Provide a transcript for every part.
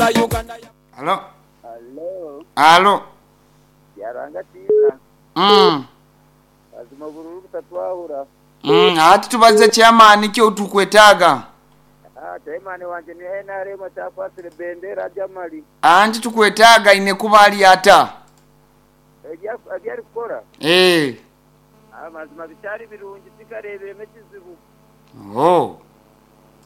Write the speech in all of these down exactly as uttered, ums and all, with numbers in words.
Alo. Alo, Alo. yaranga tiza. Mm. Azima bururu butatwahura. Mm, ati tubaze chairman kyo tukwetaaga. Ah, chairman wanje ni N R M chakwasire bendera jamali. Anti tukwetaaga ine kuba ali ata. Ebya ebyari kukora. Eh. Amazima bicyari birungi tikarebere ekizibu. Oh.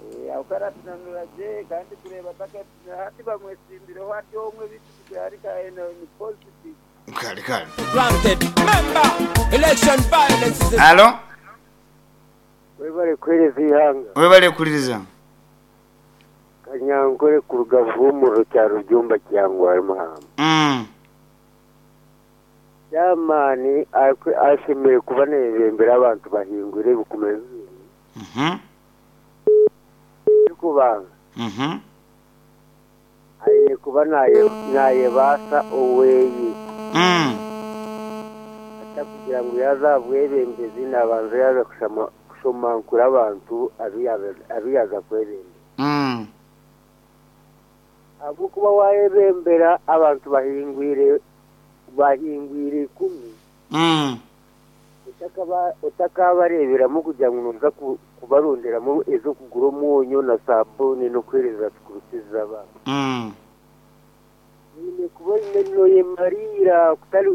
Eh, awukara tunanuraje kandi kureba taka hati bamwesimbireho ati omwe bitu ari ka ni positive. Kale kale. Granted. Member, election violence is a Alo. Webale kuhereza ihanga. Webale kuliriza. Kanyankore kuruga Buhumuro kya Rujumba kyangwa Muhamba. Mm. Yamani ashemere kuba nebembera abantu bahingure ebikumi bibiri. Mhm. Kubanga. Mhm. Aine kuba naye nayebasa oweyi. Mm. Atakugira ngu yazabwebembezi n'abantu yaza kushama kushomankura abantu abiyaza kwebembera. Mm. Ahabw'okuba wayebembera abantu bahingwire bahingwire ikumi. Mm. Otakaba otakabareberamu kugira ngu noza kubaronderamu ez'okugura omwonyo na sabuni n'okuhereza tukurusiza abantu. Mm. Oine kuba oine noyemarira kutari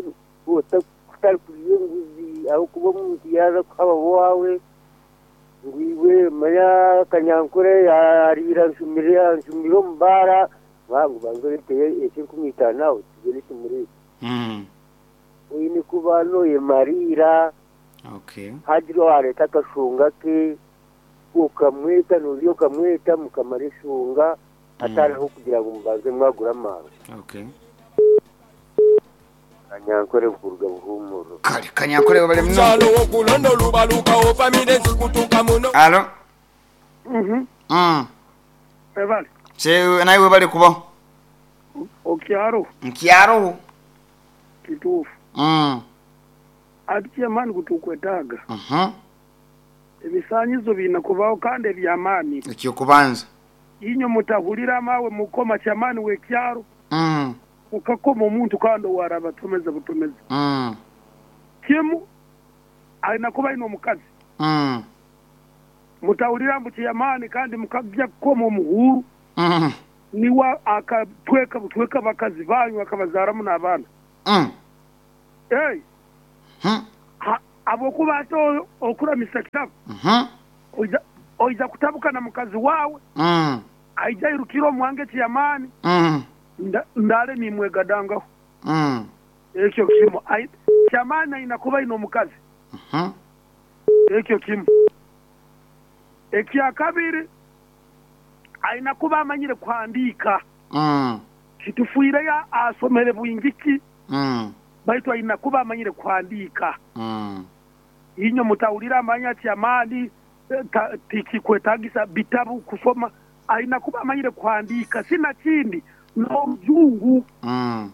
kutari kurya enguzi ahabw'okuba omuntu yaaza kuhaba waawe ngu iwe manya Kanyankore yariira nshumire nshumire omu baara bangu banze oreeteyo eky'enkumi itaano aho tugende tumureete. Mm. Oine kuba noyemarira. Okay. Hagira owareeta akashunga ke okamweta norya okamweta mukamara eshunga atariho kugira ngu mubanze mwagura amaani. Okay. Kanyankore kuruga Buhumuro. Kale Kanyankore webale muno. Chalo okulondo lubaluka ofamile zikutuka muno. Alo. Mhm. Mm. Webale. Se naye webale kuba. Okyaro Nkyaro. kituufu. Mm. Ati kyamaani kutukwetaaga. Mhm. Ebisanyizo birina kubaho kandi ebyamaani. Ekyo kubanza. Inyo mutahulira amawe mukoma kyamaani w'ekyaro. Mm. Ukakoma omuntu kandi owaraba tumeze butumeze. Mm. Kimu alina kuba ino omukazi. Mm. Mutahulira mbu kyamaani kandi mukajja kukoma omuhuru. Mm. Niwa akatweka butweka bakazi banyu akabazaaramu n'abaana. Mm. Hey. Hmm. Abokuba ate okuramisa kitabu. Mhm. Oija oija kutabuka na mukazi wawe. Mm. Aija irukira omwange kyamaani. Mm. Ndale nimwegadangaho. Mm. Ekyo kimu. Kyamaani aina kuba ino omukazi. Mhm. Ekyo kimu. Ekya kabiri aina kuba amanyire kuhandiika. Mm. Kitufuireyo asomere bwingiki. Mm. Baitu aina kuba amanyire kuhandiika. Mm. Inyo mutawulira amanya kyamaani tikikwetagisa bitabu kusoma. Aina kuba amanyire kuhandiika sina kindi n'olujungu. Mm.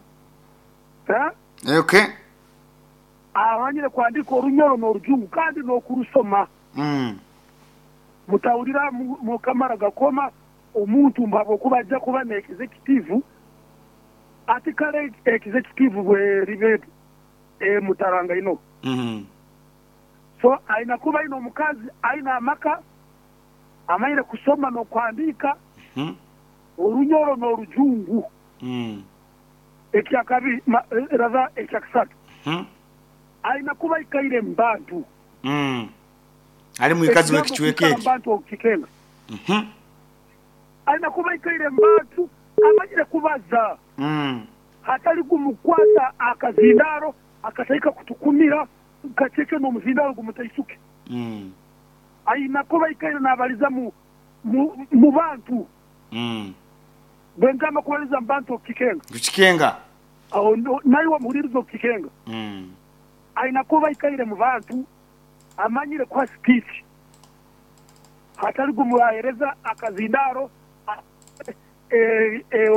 Ha? Okay. Amanyire kuhandiika orunyoro n'olujungu kandi n'okurusoma. Mm. Mutawulira mukamara gakoma omuntu mbabo kuba ajja kuba ne executive ati kale executive bwe ribe e mutaranga ino. Mm. So aina kuba ino omukazi aina amaka amanyire kusoma n'okuhandiika. Mm. Orunyoro n'olujungu. Mm. Ekya kabiri raza ekya kusatu. Mm. Aina kuba ikaire mbantu. Mm. Ali muikazi wekichweke eki. Mbantu okikenga. Mhm. Aina kuba ikaire mbantu amanyire kubaza. Mm. Hatari kumukwata akazindaro akataika kutukumira kacheke n'omuzindaro gumutaisuke. Mm. Aina kuba ikaire nabaliza mu mu, mu bantu. Mm. Bwengamba kubaliza mbantu okikenga. Kuchikenga. Aho nayo wamuhuliriza okikenga. Mm. Aina kuba ikaire mu bantu amanyire kwa speech. Hatari gumuhereza akazindaro eh eh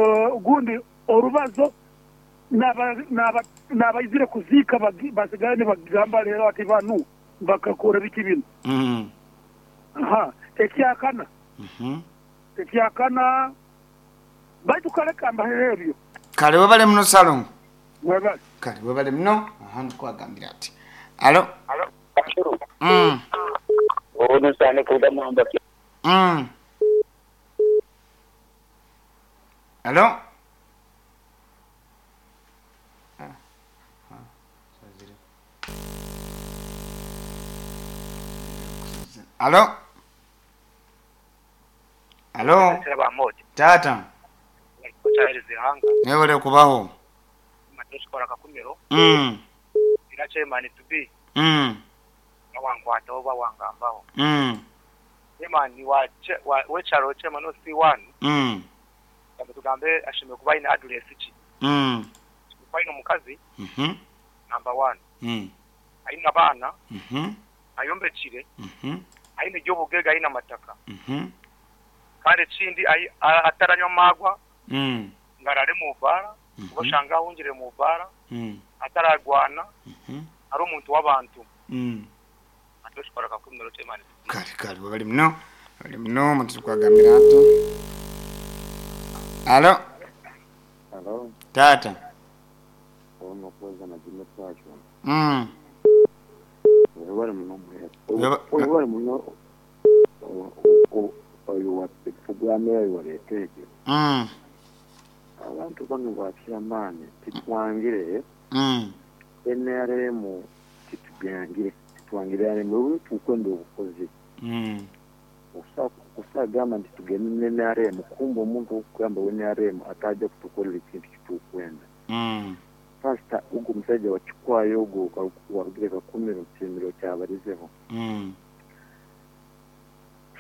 gundi orubazo naba naba nabaizire kuzika basigane bagamba rero ati banu bakakora biki bino. Mm. Aha, ekyakana. Mhm. Ekyakana Baitu kale kambahere ebyo. Kale webale muno Salongo. Webale. Kale webale muno. Aha ndikwagambira ati. Alo. Alo. Mm. Ono sane kuda muhamba. Mm. Alo. Alo. Alo. Tata. Nebale kubaho. Mm. Mm. Mm. Mm. Mm. Mhm. Number one. Mm. Aina bana. Mhm. Ayombekire. Mhm. Aine gyobugega aina mataka. Mhm. Kandi ekindi ataranywa magwa. Mm. Ngarare mu bara, Mhm. oshanga ahungire mu bara, Mm. ataragwana, Mhm. ari omuntu w'abantu. Mm. Atoshobora kakumiro chairman. Kale kale webale muno. Webale muno muntu kwagambira ato. Alo. Alo. Tata. Ono kuweza na jime kwacho. Mm. Webale muno mwe. Weba- Webale muno oyo wa programu yayo waleetege. Mm. Abantu bano bakyamaanyi titwangire Mm. N R M titubyangire titwangire mu tukwenda obukozi. Mm. Okusagamba nti tugende ne N R M kumba omuntu okugamba we N R M atajja kutukolera ekintu kitukwenda. Mm. Pastor ugu musajja wakikwayo ogwo warugire kakumiro kimiro kyabarizeho. Mm.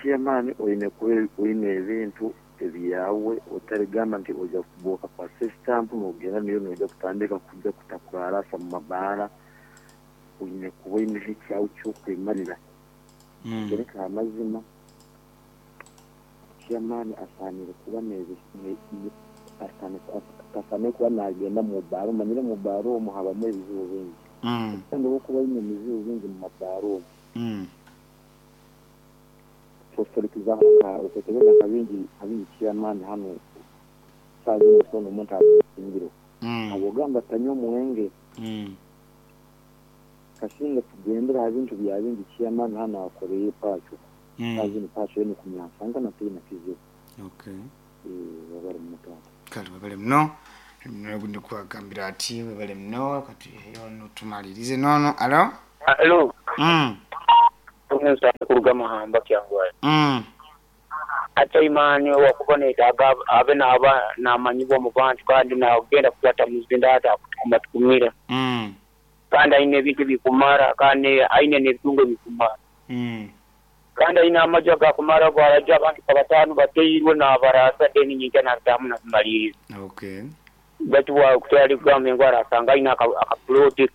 Chairman oyine kuba oyine ebintu ebyawe otarigamba nti ojja kuboka kwa stamp n'ogenda niyo n'ojja kutandika kujja kutakurarasa mu mabaara oyine kuba oyine ekyawe ky'okwemarira. Mm. Gereka amazima chairman asaanire kuba ne- ne- asaanire kuba nagenda mu baaro manyire mu baaro omwo habamu ebizibu bingi. Mm. Kandi olw'okuba oyine ebizibu bingi mu mabaaro omwo Mm. fosforikiza otekereza nka bingi nka bingi chairman hano saazi musono omuntu abingiro. Mm. Abogamba tanywa omwenge Mm. kasinga tugendera aha bintu bya bingi chairman hano akoreye pacho. Mm. Saazi ni pacho yene kumyansanga na tena kizibu. Okay. Eh wabali mutata. Kale webale muno. Ndi kwagambira ati webale muno kati yono tumalirize nono. Alo. Alo. Mm. Tunza kuruga mahamba kyangwa. Mm. Ate imani wakuboneka abe naba namanyibwa mu bantu kandi nagenda kukwata muzinda ata kutukumira. Mm. Kandi aine ebintu bikumara kandi aine n'ebitungo bikumara. Mm. Kandi aine amaju agakumara gwaraja abantu kabatano bateirwe n'abarasa deni nyinja natamu nakumaliriza. Okay. Batu wa kutali kugamba engwara asanga aine akaploti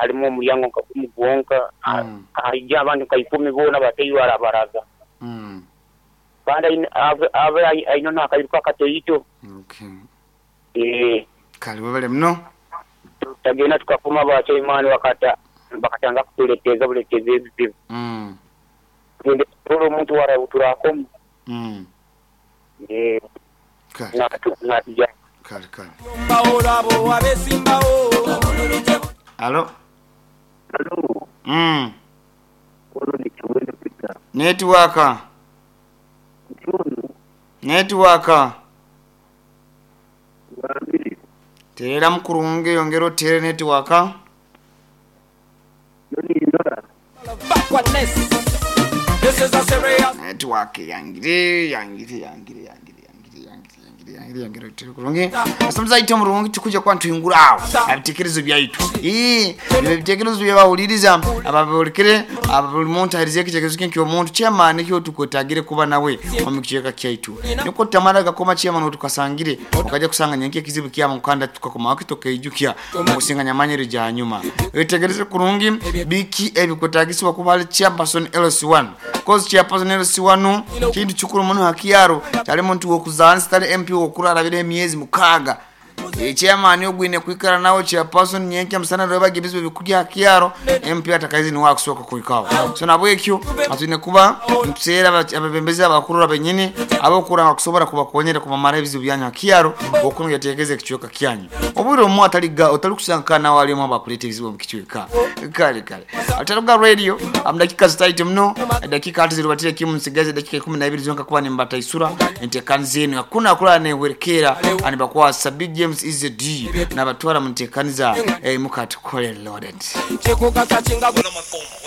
harimu omulyango nkakumugwonka Mm. haija abantu ka ikumi boona bateirwe arabaraza. Mm. Kandi abe abe aine n'akairuka katoito. Okay. Eh. Kale webale muno. Tagenda tukakoma bachaimani wakata bakatanga kutuleteza buleteza ebizibu. Mm. Tugende tutole omuntu warabuturako. Mm. Eh. Kale Natija. kale kale. Mbaolabo abesimbawo. Alo. Alo. Mm. Ono ni Kiwendo Peter. Network. Ntionu Network. wabiri. Terera mukurunge yongera otere network. Yoni ndora. Backwardness. This is a serious Network yangire yangire yangire yangire yangire yangire yangire yangire yangire otere kurungi. Asomza ite murungi tukuja kwa ntuyungura awo. Abitekerezo byaitu. Eh, ebitekerezo byabawuliriza ababolekere abuli muntu ahirize ekitekerezo kinki omuntu chairman kyo tukwetagire kuba nawe omu kicheka kyaitu. Niko tamara gakoma chairman otukasangire okaja kusanga nyenke kizibu kyama mukanda tukakoma wakitokeijukya okusinganya manyere ja nyuma. Ebitekerezo kurungi biki ebikwetagisibwa kuba ali chairperson L C one. Cause chairperson L C one kintu kikuru muno hakiyaro tali muntu wokuzansi tali M P wokurarabira emyezi mukaaga. Eh, chairman ogwine kwikara nawe chairperson nyenkya musana rwebaga ebizibu bikurya kyaro M P atakaizi niwe akusoka kuikaho. So nabwekyo atwine kuba ntuseera ababembezi abakuru abenyini abokuranga kusobora kubakonyera kubamara ebizibu byanyu kyaro okunga yategeze ekicweka kyanyu. Obwire omwe ataliga otali kusankana walimu abakuleta ebizibu mu kicweka. Kale kale, Ataruga Radio, amdakika zitaite mno, dakika hati zirubatire kimu, nsigaze dakika ikumi na ibiri zonka kuba nimbataisura entekani zenu. Hakuna kulala newerekera anibakwasa Big James is the D nabatwara mu ntekani za eh, mukatukole loaded. Chikukasa chinga Kuna makombo.